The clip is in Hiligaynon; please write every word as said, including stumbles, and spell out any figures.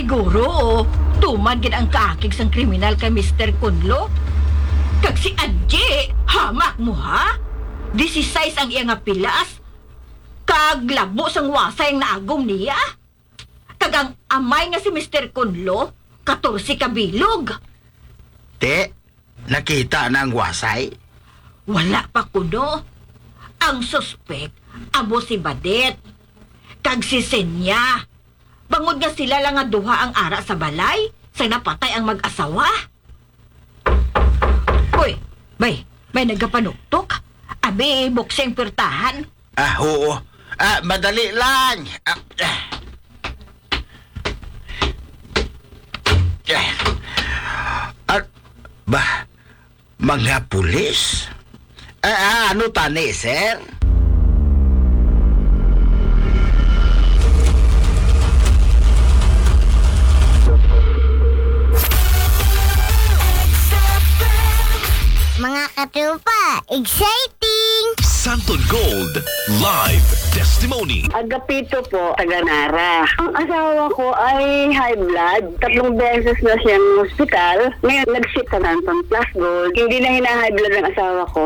Guro, tuman gid ang kaakig sang kriminal kay Mister Kunlo. Kag si Adji, hamak mo, ha? Disisais ang iya nga pilas, kag labo sang wasay ang naagom niya. Kag ang amay nga si Mister Kunlo, katorse ka bilog. Te, nakita na ang wasay? Wala pa kuno. Ang suspek amo si Badet kag si Senya. Bangod nga sila lang nga duha ang ara sa balay sa napatay ang mag-asawa. Uy, bay, may nagapanuktok. Abi, buksi ang pirtahan. Ah, oo. Ah, madali lang. Ah, ah. Ah, ah, ba, mga pulis? Ah, ah, ano tani, sir? Mga katropa, exciting! Santon Gold Live Testimony. Agapito po, taga Nara. Ang asawa ko ay high blood. Tatlong beses na siyang hospital. Ngayon, nag-sit sa Santon Plus Gold. Hindi na hina-high blood ang asawa ko.